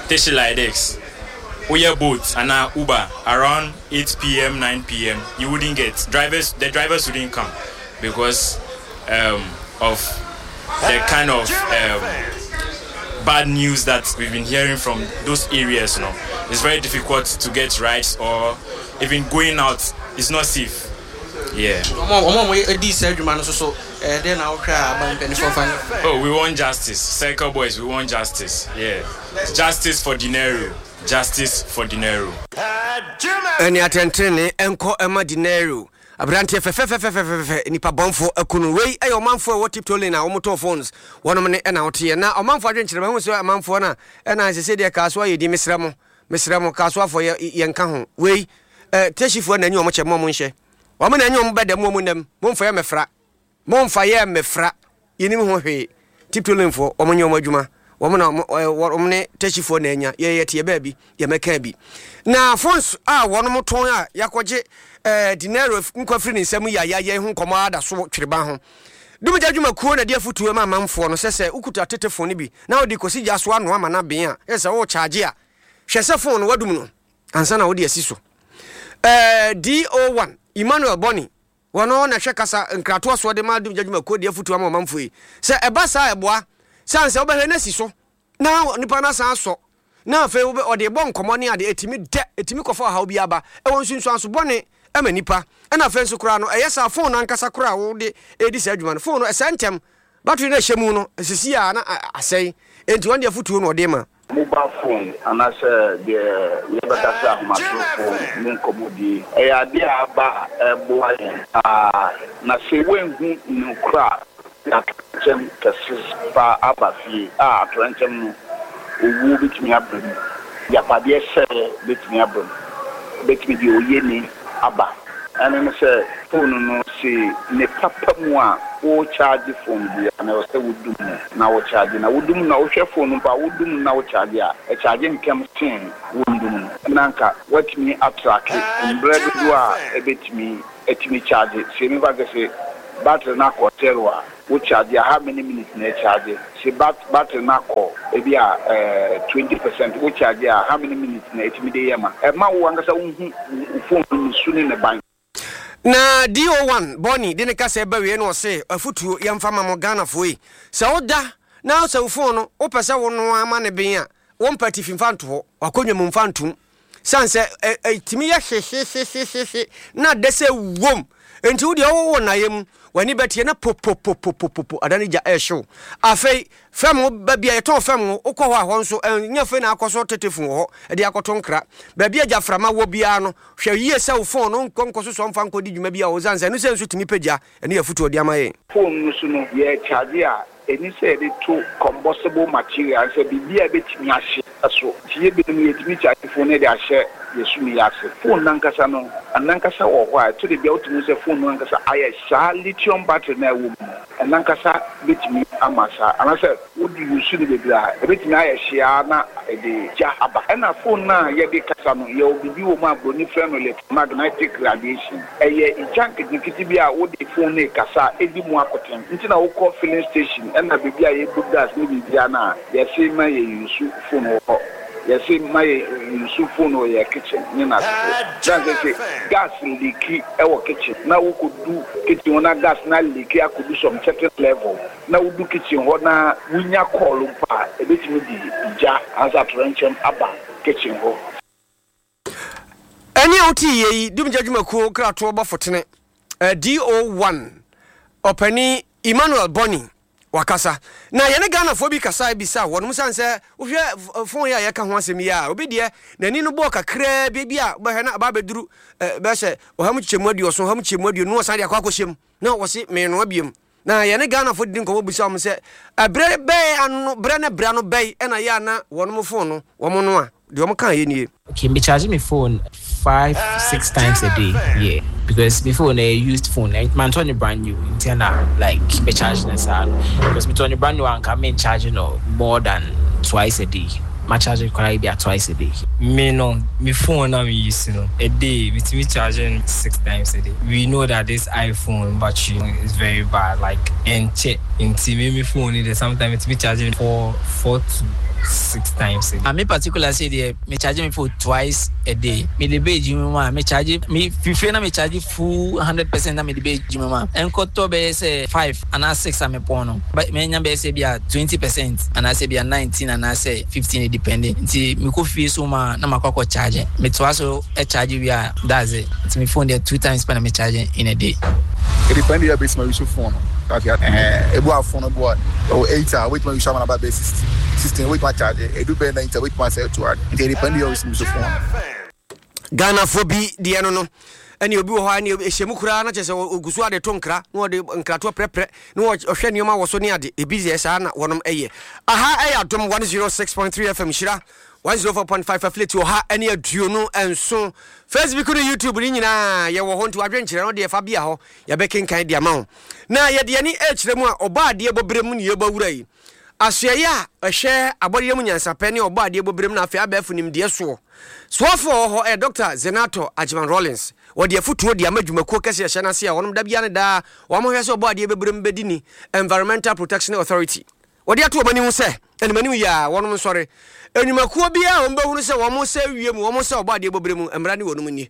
Teshie like this, woyɛ Bolt anaa Uber around eight P M nine P M you wouldn't get drivers, the drivers wouldn't come because um, of the kind of um, bad news that we've been hearing from those areas. No, it's very difficult to get rides or even going out is not safe. Yeah. Ɔmo a ɔmo di saa adwuma no nso so ɛɛ na wohwɛ a aban mpanimfoɔ fa nyɛ. Oh, we want justice. Circle boys, we want justice. Yeah. Justice for Dinero. Justice for Dinero. Ɛne atɛntene nkɔ ɛma Dinero aberanteɛ fɛfɛfɛfɛfɛfɛ nipa bɔnfo akunu. Wei ɛyɛ ɔmanfoɔ a ɛwɔ Tiptoe Lane a wɔtɔn phones wɔnom ne ɛna woteɛ na ɔmanfoɔ adwenkyerɛ mahu sɛ amanfoɔ no a ɛna ɛsɛ sɛ deɛ kaa so ayɛ di. Mesrɛ mo, mesrɛ mo, kaa so afɔ yɛ yɛnka ho. Wei ɛ Teshiefoɔ na anyi wɔn kyɛ mo a mo nhyɛ wɔn na anyi wɔn bɛda mu wɔn nam momfa yɛ mɛfra, momfa yɛ mɛfra, yɛnim ho hwee. Tiptoe Lane foɔ wɔn nyɛ wɔn adwuma, wɔn na wɔn ne Teshiefoɔ na anya yɛ yɛ te yɛ baabi yɛmɛka bi na phones a wɔn tɔn a yɛakɔgye ɛɛ Dinero nkwa firi ne nsam yi a yɛayɛ ho nkɔmɔ ada so twereba ho. Dumgya dwumakuo na de afotuo ma amanfoɔ no sɛ sɛ wokuta tete phone no bi na wode kɔsi gya so anoa ama no aben a ɛsɛ sɛ wɔrecharge a, hwɛ sɛ phone no wadum no ansa na wode asi so. ɛɛ D O one Emmanuel Bɔne wɔno na hwɛ kasa nkratoɔ soɔ de ma dumgya dwumakuo de afotuo ama ɔmanfoɔ yi sɛ ɛba saa ɛboa sane sɛ wobɛhwɛ no asi so na nipa no asan asɔ na afei ɔde bɔ nkɔmmɔ ne ade ɛtumi dɛ ɛtumi kɔfa ɔhaw bi aba ɛwɔ nsunsuanso bɔne ɛma nipa. Ɛna afei nso koraa no ɛyɛ saa phone no ankasa koraa a wode ɛdi saa adwuma no, phone no ɛsɛ ntɛm, battery no ɛhyɛ mu no ɛsisi a na asɛe. Enti wɔn de afotuo no ɔde ma. Mobile phone anaasɛ deɛ yɛbɛka sɛ ahomatorofo ne nkɔmmɔdie ɛyɛ adeɛ a aba a ɛboa yɛn paa, na sɛ woanhu nokora a atorenkyɛm kɛse paa aba fie a atorenkyɛm no owuo bɛtumi aba mu, agyapadeɛ sɛeɛ bɛtumi aba mu, bɛtumi deɛ oyɛ ni aba. Ɛno ne sɛ phone no se ne papa mu a wo charge phone bi a na ɛwɔ sɛ wodum mu na wo charge na wodum na wohwɛ phone no mpo a wodum na wo charge a ɛcharge ntɛm sen wondum no na nka woatumi atrack mmerɛ dodoɔ a ɛbɛtumi atumi charge sɛ mefa sɛ sɛ battery no akɔ zero a wo charge a how many minutes na ɛcharge sɛ bat battery no akɔ ebi a ɛɛ twenty percent wo charge a how many minutes na ɛtumi de yɛ ma ɛma wo ankasa wohu wo phone no ne su ne ne ban. Na D O one Bɔne de ne kasa ba wie no, ɔse afotuo yɛmfa ma mo Ghanafoɔ yi, sɛ woda na sɛ wo phone no wopɛ sɛ wo noa ama ne ben a, wompa tifi mfa nto hɔ, wakɔnwa mu mfa ntom sane sɛ ɛtumi yɛ hwehwehwehwehwe na da sɛ wom. Enti wodeɛ wowɔ nnaeɛ mu, w'ani bɛteɛ na popopopopopo ada ne gya ɛhyew. Afei fam wo baabi a yɛtɔn fam wo, wokɔ hɔ a, hɔ nso ɛnyɛ afei na akɔ so tete fon wɔ hɔ ɛde akɔto nkra. Baabi a gyaframa wɔ biara no, hwɛ yie sɛ wo phone no nkɔ nkɔ so sɔ mfa nkɔdi dwuma bi a wɔ sane sɛ ɛno sɛ nso tumi pagya. Ɛne yɛ afotuo de ama yɛn. Phone no so no yɛ charge a, ɛni sɛ yɛde to combustible material sɛ biribi a ɛbɛtumi ahye so. Nti yɛ binom yɛtumi charge phone no de ahyɛ yɛ sumi ase. Phone nankasa no anankasa wɔ hɔ a ɛto de bia wotumi sɛ phone no ankasa ayɛ saa lithium battery na ɛwɔ mu no ɛnankasa bɛtumi ama saa anaasɛ wode use no bebree a ɛbɛtumi ayɛ hyea na ɛde gya aba. Ɛna phone no a yɛde kasa no, yɛwɔ biribi wɔ mu a buroni frɛ no electromagnetic radiation. Ɛyɛ gya nketenkete bi a wode phone no kasa a ɛdi mu akoten. Nti na wokɔ filling station ɛna baabi a yɛbu gas ne biribia no a, yɛse ma yɛ use phone wɔ hɔ, yɛse ma yɛ use phone wɔ yɛ kitchen ne n'asefo dan sɛ sɛ gas leak ɛwɔ kitchen na wokɔdu kitchen hɔ na gas na leak akɔdu some certain level na wodu kitchen hɔ na wonya call mpo a, ɛbɛtumi de gya ansa atorɛnkyɛm aba kitchen hɔ. Ɛne a wote yie yi, dumgya dwumakuo kratoɔ bɔfo D O one ɔpani Emmanuel Bɔne wakasa na yɛne Ghanafoɔ bi kasa bisa wɔnom sane sɛ wohwɛ phone yi a yɛka ho asɛm yi a, obi deɛ n'ani no bɔɔ kakraa bi bi a wobɛhwɛ na aba bɛduru bɛsɛ ɔha mu kyekyɛmu aduɔson, ɔha mu kyekyɛmu aduonu, ɔsan de akɔ akɔhyɛ mu na wɔse menoa biom. Na yɛne Ghanafoɔ didi nkɔmmɔ bisa wɔn sɛ ɛberɛ bɛɛ ano berɛ ne berɛ no bɛyi ɛna yɛ ana wɔnom phone no wɔn no a deɛ wɔn kaa yɛ nie. Okay, me charge my phone five, six times a day. Yeah, because my phone a used phone. Man, tɔ brand new. Nti na like me charge no saa because me tɔ brand new and can me charge no more than twice a day. Ma charge koraa bi twice a day. Me no, me phone na me use no a day, me me charging six times a day. We know that this iPhone battery is very bad, like ɛnkyɛ. Nti me me phone it sometimes me charging four four to six times a day. Me particular sɛ deɛ me charge me phone twice a day. Me de bɛ edwuma mu a, me charge me fifie na me charge full hundred percent na me de bɛ edwuma mu a, nkɔtɔ bɛyɛ sɛ five anaa six a me pɔn no, me nya bɛyɛ sɛ bi a twenty percent anaasɛ bi a nineteen anaasɛ fifteen depending. Nti me kɔ fie so ma na ma kɔ akɔ charge. Me toa so charge wie a, that's it. Nti me phone deɛ, two times pɛ na me charge in a day. It depend yɛ bɛsi ma use phone no ɛhɛn ebu a phone no bu a ɔwɔ eight a wait ma use ama na ba bɛ sixty sixteen, wait ma charge edu bɛ ninety, wait ma sɛ two hundred. Nti it depend yɛ ɔsi use phone no. Ghanafoɔ bi deɛ no no ɛne obi wɔ hɔ a ne ɛhyɛ mu koraa na kyerɛ sɛ ɔgu so ade to nkra na ɔde nkratoɔ prɛprɛ na ɔhwɛ nneɛma wɔ so ne ade ebi deɛ saa na wɔnom ɛyɛ. Aha ɛyɛ Adom one oh six point three F M, Hyira one oh four point five affiliate wɔ ha ɛne aduonu nson. Facebook ne YouTube ne nyinaa yɛwɔ hɔ, nti wadwenkyerɛ no deɛ fa bia hɔ, yɛbɛkenkan de ama wo. Na yɛde ani ɛkyerɛ mu a ɔbɔ adeɛ bɔberɛ mu ne yɛbɔ wura yi asoɛyɛ a ɛhwɛ abɔdeɛ mu nyansapɛ ne ɔbɔ adeɛ bɔberɛ mu na afei abɛɛfo nimdeɛ soɔ soafoɔ wɔ hɔ ɛyɛ Doctor Zanetor Agyeman Rawlings. Wɔde afotuo de ama dwumakuo kɛseɛ ɛhyɛ n'ase a wɔnom da bia ne daa wɔn hwɛ sɛ ɔbɔ adeɛ bɛbrɛ mu bɛdi ni, Environmental Protection Authority. Wɔde ato wɔn anim sɛ animanim yɛ a wɔnom nsɔre nnwumakuo biara a wɔn bɛhunu sɛ wɔn sɛ wie mu wɔn sɛ ɔbɔ adeɛ bɔbrɛ mu mmara ne wɔnom nie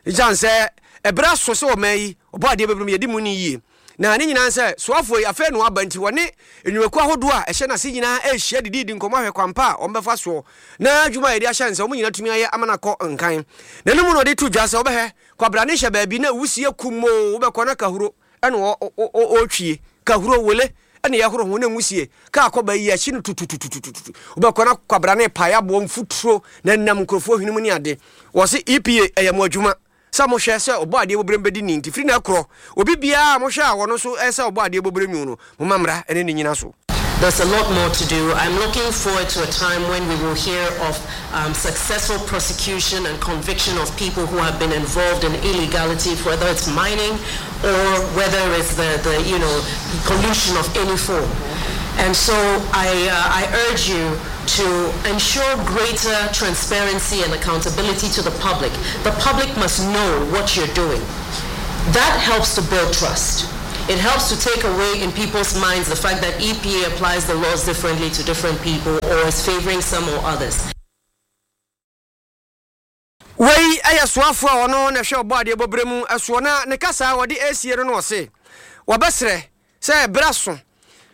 gyan sɛ ɛberɛ aso sɛ ɔman yi ɔbɔ adeɛ bɛbrɛ mu yɛdi mu ni yie. Na ne nyinaa sɛ soafoɔ yi afei no aba nti wɔne nnwumakuo ahodoɔ a ɛhyɛ n'ase nyinaa ɛrehyia dididi nkɔmmɔ ahwɛ kwampa a wɔn bɛfa soɔ na adwuma a yɛde ahyɛ nsa wɔn nyinaa tumi ayɛ ama no akɔ nkan. Na no mu na ɔde to dwa sɛ wɔbɛhɛ kwabrane hyɛ baabi na wusie kumoo, wobɛkɔ na kahuro ɛna ɔretwie kahuro wele ɛna yɛhoro ho na nwusie kaa kɔba yi akyi no tutututututu, wobɛkɔ na kwabrane pae aboɔ mfuturo na nam nkurɔfoɔ hwene mu ne ade. Wɔ se E P A ɛyɛ mo adwuma sɛ mohwɛ sɛ ɔbɔ adeɛ bɔberɛ bɛdi ni, nti firi na ɛkorɔ obi biara a mohwɛ a wɔno nso ɛsɛ ɔbɔ adeɛ bɔberɛ nwu no, moma mmara ɛne ne nyina so. There's a lot more to do. I'm looking forward to a time when we will hear of um, successful prosecution and conviction of people who have been involved in illegality, whether it's mining or whether it's the, the you know, pollution of any form. And so I, uh, I urge you to ensure greater transparency and accountability to the public. The public must know what you're doing. That helps to build trust. It helps to take away in people's minds the fact that E P A applies the laws differently to different people or is favoring some or others. Wei ɛyɛ soafoɔ a ɔno na hwɛ ɔbɔ adeɛ bɔberɛ mu ɛsoɔ, na ne kasa a wɔde asie no no ɔse wɔbɛserɛ sɛ ɛberɛ so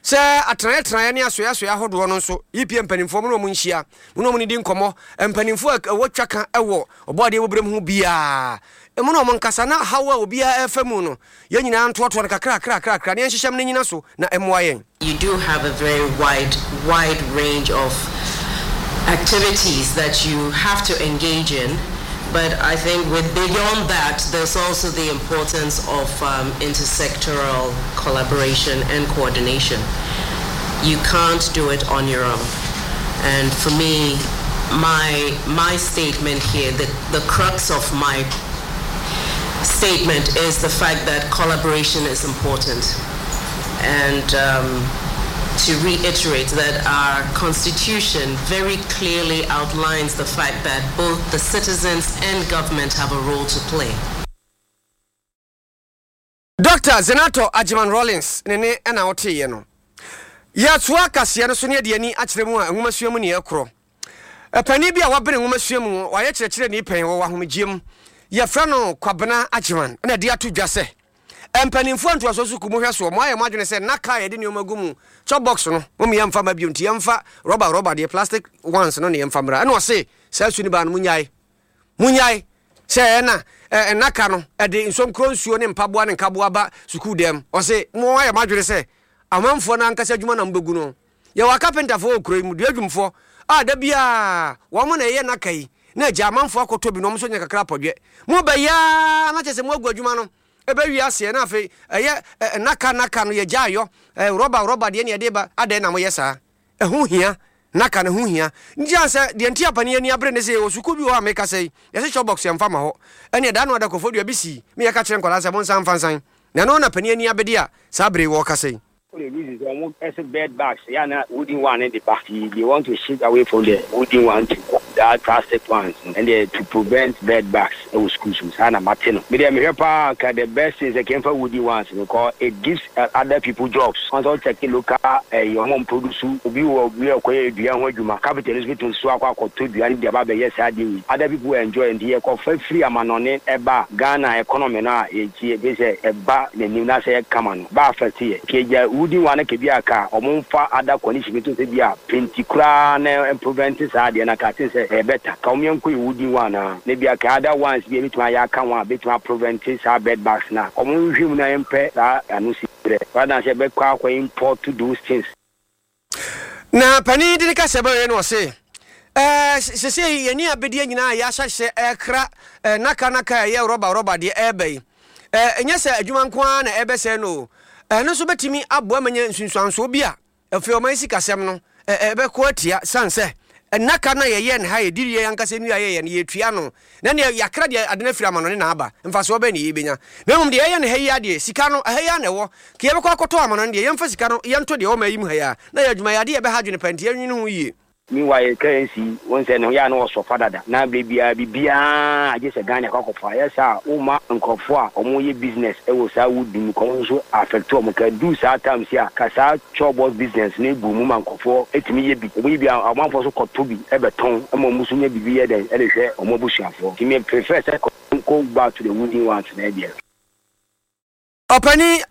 sɛ atenaeɛtenaeɛ ne asoɛasoɛ ahodoɔ no nso, E P A mpanimfoɔ mu na ɔmo nhyia mu na ɔmo ne di nkɔmmɔ. Mpanimfoɔ a ɛwɔ twa ka ɛwɔ ɔbɔ adeɛ bɔberɛ mu ho biaa ɛmu na ɔmo nkasa, na haw a obiara ɛfa mu no, yɛn nyinaa ntoatoa no kakrakrakrakra ne yɛnhyehyɛm no nyina so na ɛmmoa yɛn. You do have a very wide, wide range of activities that you have to engage in. But I think with beyond that, there's also the importance of um, intersectoral collaboration and coordination. You can't do it on your own. And for me, my, my statement here, the, the crux of my statement is the fact that collaboration is important. And um, to reiterate that our constitution very clearly outlines the fact that both the citizens and government have a role to play. Doctor Zanetor Agyeman Rawlings ne ne ɛna woteeɛ no. Yɛtoa kaseɛ no so ne yɛde ani akyerɛ mu a nwomasua mu ne yɛkorɔ. Ɛpanin bi a wabene nwomasua mu, wayɛ kyerɛkyerɛni pɛn wɔ ahomegyeɛ mu, yɛfrɛ no Kwabena Agyeman, ɛna de ato dwa sɛ mpanimfoɔ ntoasoɔ sukuu mu hwɛ soɔ, mo ayɛ mo adwene sɛ nnaka a yɛde nneɛma gu mu, chop box no, mo yɛmfa ma bio, nti yɛmfa rɔba rɔba deɛ, plastic ones no ne yɛmfa mmra. Ɛna ɔse saa su no baa no, munyae munyae sɛ ɛna nnaka no ɛde nsomkuro nsuo ne mpaboa ne nkaboa ba sukuu dɛm. Ɔse mo ayɛ mo adwene sɛ amanfoɔ no ankasa adwuma na mobɛgu no. Yɛwɔ akapentafoɔ wɔ kuro yi mu, dua adwumfoɔ a da biaa wɔn na ɛyɛ nnaka yi na agya amanfoɔ akɔtɔ bi na wɔn nso nya kakra apɔdwɛ. Mo bɛyaa na kyerɛ sɛ mo agu adwuma no ɛbɛwi aseɛ, na afei ɛyɛ nnaka nnaka no yɛgya ayɔ rɔba rɔba deɛ ne yɛde ba. Adɛn na moyɛ saa? Ɛho hia, nnaka no ho hia. Nti a sɛ deɛ nti apani ani abere ne sɛ yɛwɔ sukuu bi wɔ hɔ a meka sɛ yi yɛsɛ chop box yɛmfa ma hɔ. Ɛne ɛda no adakɔfoɔ dua bi sii me yɛka kyerɛ nkwadaa sɛ monsa mfa nsan na ɛno na pani ani abɛdi a saa bere wɔ kasa yi. The reason is almost ɛsɛ bed bugs yeah na wooden one in the back, they want to shift away from the wooden one to that plastic ones and they to prevent bed bugs ɛwɔ schools mu. Saa na mate no. Me deɛ, mehwɛ paa ka the best thing sɛ kɛmfa wooden ones because it gives uh, other people jobs. Wɔn sɛ ɔkyɛke local ɛyɛ ɔmo produce, obi wɔ obi a ɔkɔyɛ dua ho adwuma, capital no so so akɔ akɔtɔ dua no de aba abɛyɛ saa adeɛ wei, other people enjoy. Nti yɛkɔfa firi amanɔne ɛba Ghana economy no a yɛkyi ebi sɛ ɛba n'anim na sɛ yɛkama no ba affect yɛ kegya wooden one ka bi a ka ɔmo nfa other condition bi to sɛ bi a penti koraa na prevent saa adeɛ na ka ten sɛ ɛyɛ better ka ɔmo yɛn kɔ yɛ wooden one a na bi a ka other ones bi a ebitumi ayɛ aka ho a betumi prevent saa bed bugs na ɔmo nhwɛ mu na yɛmpɛ saa ano si brɛ rather than sɛ ɛbɛkɔ akɔ import those things. Na panin de ne kasa bɛyɛ no, ɔse ɛɛ sese yɛni abɛdeɛ nyinaa yɛahyɛhyɛ ɛkra ɛɛ naka naka a ɛyɛ rɔba rɔba deɛ ɛɛba yi, ɛɛ ɛnyɛ sɛ adwuma nko ara na ɛbɛsɛe no o, ɛno nso bɛtumi aboa ma nya nsunsuansoɔ bi a afei ɔman sikasɛm no ɛɛ ɛbɛkɔ atia, san sɛ nnaka no a yɛyɛ ne ha, yɛdi yɛ ankasa nnua yɛyɛ no, yɛtua no na neɛ yɛakra deɛ ade no afiri ama no ne naaba mfasoɔ bɛn ne yɛbɛnya? Na mmom deɛ yɛyɛ no ha yi adeɛ, sika no ɛha yi a na ɛwɔ ka yɛbɛkɔ akɔtɔ ama no no deɛ, yɛmfa sika no yɛnto deɛ ɔma yi mu ha yi a na yɛ adwuma yɛ adeɛ yɛbɛha adwene pa, nti yɛnwene ho yie. Meanwhile, currency wɔn sɛ ne ho yɛ a na wɔsɔfa dada na abere biara biribiara agye sɛ Ghana akɔ akɔfa yɛ saa woma nkurɔfoɔ a wɔyɛ business ɛwɔ saa wood mu kɔn nso affect wɔn. Ka du saa times a ka saa chop business no ebu mu ma nkurɔfoɔ etumi yɛ bi, wɔn yi bi a ɔmanfoɔ so kɔtɔ bi ɛbɛtɔn ɛma wɔn nso nya biribi yɛ dɛn ɛde hwɛ wɔn abusuafoɔ. Nti me prefer sɛ go back to the wooden ones na ɛdeɛ. Ɔpani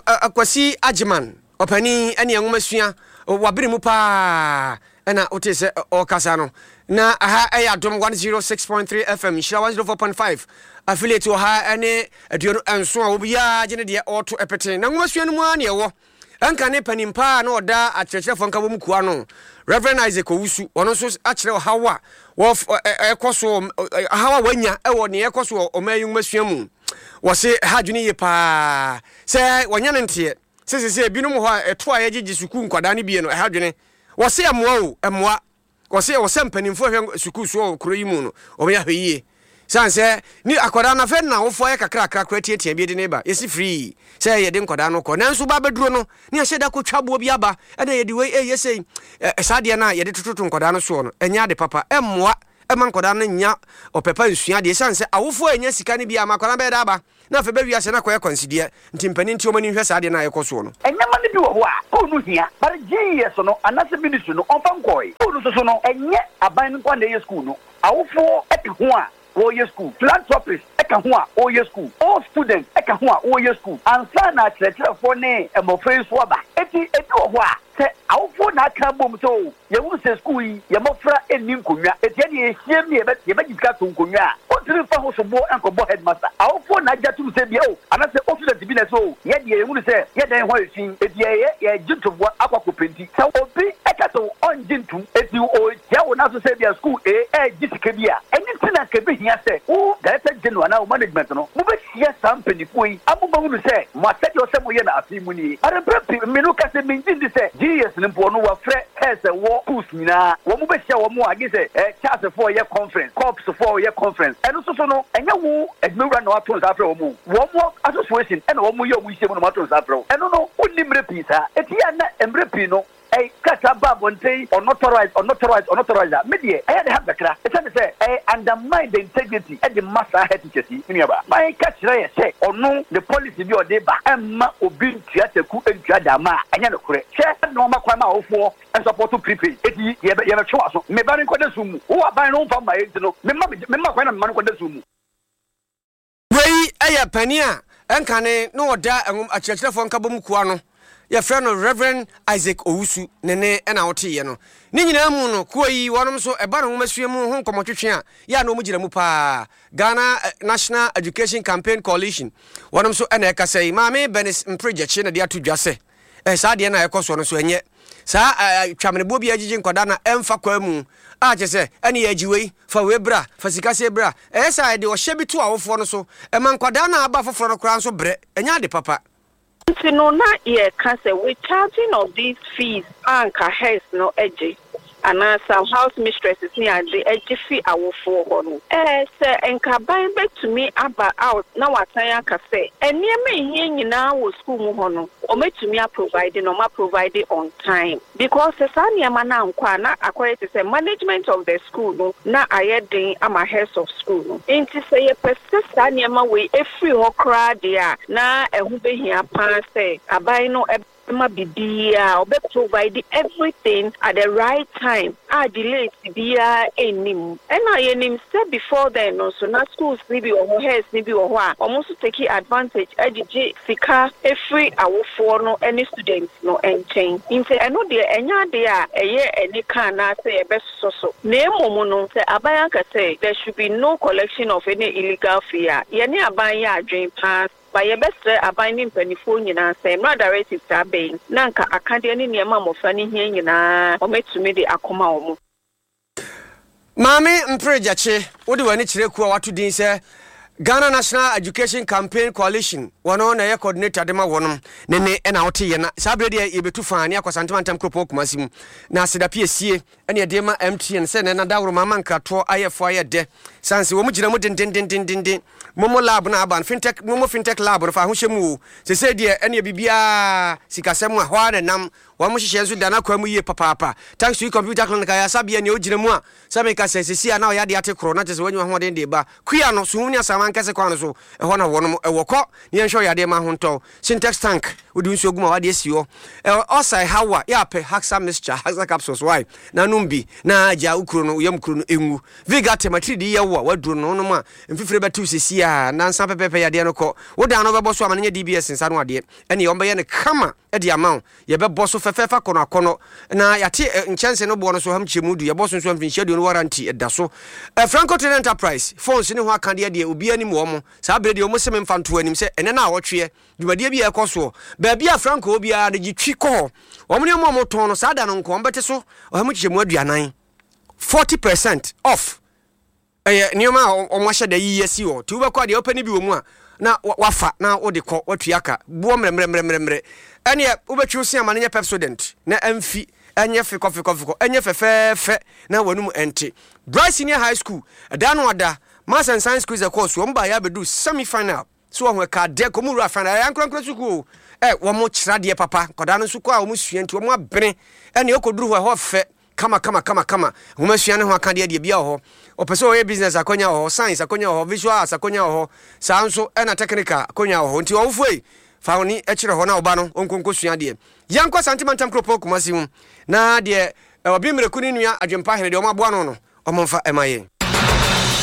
Akwasi Agyeman, ɔpani ɛne nwoma sua wabere mu paa, ɛna wote sɛ ɔrekasa no. Na aha ɛyɛ Adom one oh six point three F M, Nhyira one oh four point five affiliate wɔ ha ɛne aduonu nson a obiara gye ne deɛ ɔreto ɛpete. Na nwoma sua no mu ara ne ɛwɔ ɛnka ne panin paa na ɔda akyerɛkyerɛfoɔ nka wɔ mu kua no, Reverend Isaac Owusu, ɔno nso akyerɛ ɔhaw a ɛkɔ so, ɔhaw a wanya ɛwɔ nea ɛkɔ so wɔ ɔman yi nwoma sua mu. Wɔse ha adwene yie paa sɛ wɔnya no nteɛ. Sɛ sɛ sɛ ebinom hɔ a ɛto a yɛgyegye sukuu nkwadaa no bie no ɛha dwene. Wɔse ɛmmoa o, ɛmmoa. Wɔse ɛwɔ sɛ mpanimfoɔ hwɛ sukuu soɔ wɔ kuro yi mu no, wɔyɛ ahwɛyie. Sane sɛ ne akwadaa no afei na awofoɔ ayɛ kakrakra koraa tiatia bi de ne ba. Yɛsi firii sɛ yɛde nkwadaa no kɔ. Nanso ba abɛduro no, ne yɛahyɛ da kɔtwa aboɔ bi aba, ɛna yɛde wei ɛyɛ sei. Ɛ, saa adeɛ no a yɛde tototo nkwadaa no soɔ no, ɛnyɛ ade papa. Ɛmmoa ɛma nkwadaa no nnya ɔpɛ pa nsua adeɛ. Ɛsiane sɛ awofoɔ annya sika no bi a, ama akwadaa no bɛyɛ dɛ aba. Na afei bɛwie aseɛ no akɔyɛ kwansideɛ. Nti mpanin nti wɔn ani nhwɛ saa adeɛ no a ɛrekɔ soɔ no. Nneɛma no bi wɔ hɔ a, school no hia, but G E S no anaasɛ ministry no ɔmfa nkɔe. School no soso no, ɛnyɛ aban no nko ara na ɛyɛ school no. Awofoɔ ka ho a wɔreyɛ school, philanthropist ka ho a wɔreyɛ school, all students ka ho a wɔreyɛ school, ansa na akyerɛkyerɛfoɔ ne mmɔfra yi nso aba. Enti ebi wɔ hɔ a, sɛ awofoɔ na aka abom sɛ o, yɛhunu sɛ sukuu yi, yɛn mmɔfra nni nkonnwa, enti ɛnneɛ yɛhyiam ne yɛbɛ, yɛbɛgye sika ato nkonnwa a, wontumi mfa ho soboɔ nkɔbɔ headmaster. Awofoɔ na agye atom sɛ bia o, anaasɛ o student bi na ɛsɛ o, yɛn deɛ yɛhunu sɛ yɛn dan ho ayɛ fi, enti yɛyɛ, yɛregye ntoboa akɔ akɔpenti. Sɛ obi ka sɛ ɔngye ntom, enti ɔretia wo nan so sɛ ebia sukuu A regye sika bi a, ɛno nti na anka ɛbɛhia sɛ wo Director General anaa wo management no, mobɛhyia saa mpanimfoɔ yi ama moahunu sɛ mo asɛdeɛ ɛwɔ sɛ moyɛ no afe yi mu nie. But mprɛ pii, me no ka sɛ mengye ndi sɛ G E S no mpo ɔno wafrɛ heads ɛwɔ schools nyinaa, wɔn bɛhyia wɔn a gye sɛ eh, Charles foɔ yɛ conference, Corps foɔ yɛ conference, ɛno nso so no, ɛnyɛ wo adwumawura na wato nsa afrɛ wɔn o, wɔn association ɛna wɔn yɛ wɔn nhyiamu na wɔato nsa afrɛ wo. Ɛno no, wonni mmerɛ pii saa. Enti yɛ a na mmerɛ pii no, ɛy krataa ba abɔnten, unauthorized, unauthorized, unauthorized a, me deɛ, ɛyɛ de ha kakra. Ɛsiane sɛ ɛyɛ undermine the integrity ɛde ma saa head teachers yi, me nuabaa. Man ka kyerɛ yɛ sɛ ɔno ne policy bi a ɔde ba ɛmma obi ntua taku ntua dama a, ɛnyɛ nokorɛ. Hwɛ na ɔma kwan ma awofoɔ nsɔpɔto prepaid. Eti yɛbɛ yɛbɛtwe w'aso. Me ba no nkɔda sum mu. Wo aban no womfa mma yɛ nti no, memma me memma kwan na me mma no nkɔda sum mu. Wei yɛ panin a ɛnkane na ɔda akyerɛkyerɛfoɔ nkabom kuo ano. Yɛfrɛ no Rev. Isaac Owusu. Ne nne na woteeɛ no. Ne nyinaa mu no, kuo yi, wɔnom nso, ɛba no nwomasua mu ho nkɔmmɔtwetwe a, yɛ a na wɔgyina mu pa ara. Ghana National Education Campaign Coalition, wɔnom nso na ɛkasa yi. Maame Bernice Mpre Gyakye na de ato dwa sɛ, Eh, saa adeɛ no a ɛkɔ soɔ no nso ɛnyɛ saa eh, twameneboɔ bi a ɛgyegye nkwadaa na ɛmfa kwaa mu a kyerɛ sɛ ɛne yɛagye wei fa wei bra fa sika sei bra. Ɛyɛ saa ɛde ɔhyɛ bi to awofoɔ no so, ɛma nkwadaa no a aba foforɔ no koraa nso brɛ. Ɛnyɛ ade papa. Nti no na yɛka sɛ with charging of these fees a anka heads no gye anaa some house mistresses ne ade gye fi awofoɔ hɔ no, ɛɛ sɛ nka aban bɛtumi aba out na wasan aka sɛ nneɛma a ɛhia nyinaa wɔ school mu hɔ no wɔatumi a provide na wɔn a provide on time, because sɛ saa nneɛma no ankɔ a, na akɔyɛ te sɛ management of the school no na ayɛ den ama heads of school no. Nti sɛ yɛpɛ sɛ saa nneɛma wei ɛfiri hɔ koraa deɛ a, na ɛho bɛhia paa sɛ aban no ma biribiara ɔbɛ provide everything at the right time a delays biara nni mu. Ɛna yɛnim sɛ before then no nso na schools no bi wɔ hɔ, heads no bi wɔ hɔ a wɔn nso take advantage de gye sika firi awofoɔ no ne students no nkyɛn. Nti ɛno deɛ ɛnyɛ adeɛ a ɛyɛ anika anaasɛ yɛbɛsosɔ so, na mmom no sɛ aban aka sɛ there should be no collection of any illegal fee a, yɛne aban yɛ adwene paa. Ba yɛbɛsrɛ aban ne mpanimfoɔ nyinaa sɛ mmerɛ directive saa bɛyi na nka akadeɛ ne nneɛma a mmɔfra no hia nyinaa wɔatumi de akɔma wɔn. Maame Mpere Gyakye, wode w'ani kyerɛ kuo a wɔato din sɛ Ghana National Education Campaign Coalition, wɔno na ɛyɛ coordinator de ma wɔnom, ne ne ɛna wote yɛ na saa berɛ deɛ yɛbɛtu faa ne akɔ Asante Mantam kuropɔn Kumasi mu na aseda piesie ɛne ɛde ma M T N sɛ nɛ nadaworo ma ama nkratoɔ ayɛ fo ayɛ dɛ sane sɛ wɔn gyina mu dendendendenden. Momo Lab no aba no, fintech, Momo Fintech Lab no fa ahohyɛ mu o. Sesei deɛ ɛneɛ biribiara sikasɛm a hɔ ara na ɛnam. Wɔn nhyehyɛɛ nso da n'akwan mu yie papaapa. Thanks to Computer Clinic ayasabea nea ogyina mu a sɛ meka sɛ sesei a na ɔyɛ adeɛ ate korɔ na kyerɛ sɛ wanya ahoɔden de ba kua no Suhum ne Asaman kɛse kwan no so, ɛhɔ na wɔnom ɛwɔ. Kɔ na yɛnhwɛ ɔyadeɛ ma ahontɔ. Sintex tank wode nsuo gu ma wade asi hɔ. Ɛ ɔsa ɛhaw a yɛ apɛ Haxa mixture, Haxa capsules why na nom bi na gya wo kuro no, wo yam kuro no ɛnwu. Vigate matiridi yɛ wo a waduro no wonom a mfifire bɛtew sesei a nansa pɛpɛɛpɛ yadeɛ no kɔ. Wo dan no wobɛbɔ so ama no nyɛ D B S nsa no adeɛ ɛneɛ wɔbɛyɛ no kama de ama wo. Yɛbɛbɔ so fɛfɛɛfɛ akɔnɔ akɔnɔ na yɛate nkyɛnse no boɔ no so ham kyɛmu du. Yɛbɔ so nso mfinhyia aduonu warranty ɛda so. Franco Trading Enterprise phones ne ho akadeɛ deɛ obiara nim wɔn mo. Saa berɛ deɛ wɔn se memfa nto anim sɛ ɛnɛ na awɔtweɛ dwumadie bi a ɛkɔ soɔ baabi a Franco wɔ biara no gye twi kɔ hɔ. Wɔn nneɛma a wɔtɔn no saa da no nko wɔn bɛte so ɔha mu kyekyɛmu aduanan, forty percent off. Ɛyɛ nneɛma a wɔn ahyɛ da yiyi asi hɔ. Nti wobɛkɔ a deɛ wopɛ no bi wɔ mu a na wafa na wode kɔ watua ka boɔ mmerɛmmerɛmmerɛmmerɛ. Ɛneɛ wobɛtwi wo se ama no nyɛ Pepsodent na ɛmfi ɛnyɛ fekɔfekɔfekɔ ɛnyɛ fɛfɛɛfɛ na w'anum ɛnte. Bright Senior High School ɛda no ada Maths and Science quiz ɛkɔɔ so wɔn baeɛ abɛduru semi final so wɔn ɛka adeɛ kɔm wura final ɛyɛ ankorankora sukuu o ɛ wɔn kyerɛ adeɛ papa nkwadaa no nso kɔ a wɔn sua nti wɔn abene ɛne ɛkɔduru hɔ ɛhɔ fɛ kama kama kama kama nwoma sua ne ho akadeɛ deɛ bia wɔ hɔ ɔpɛ sɛ ɔyɛ business akonya wɔ hɔ science akonya wɔ hɔ visual arts akonya wɔ hɔ saa nso ɛna technical akonya wɔ hɔ nti ɔwofoɔ yi fa wo ni kyerɛ hɔ na ɔba no ɔnkonko sua adeɛ yɛnkɔ Asante Mantam kuropɔn Kumasi mu na deɛ ɔbi mmireku ne nua Adwempa Hene deɛ ɔmo aboa no no ɔmo mfa ɛma yɛn.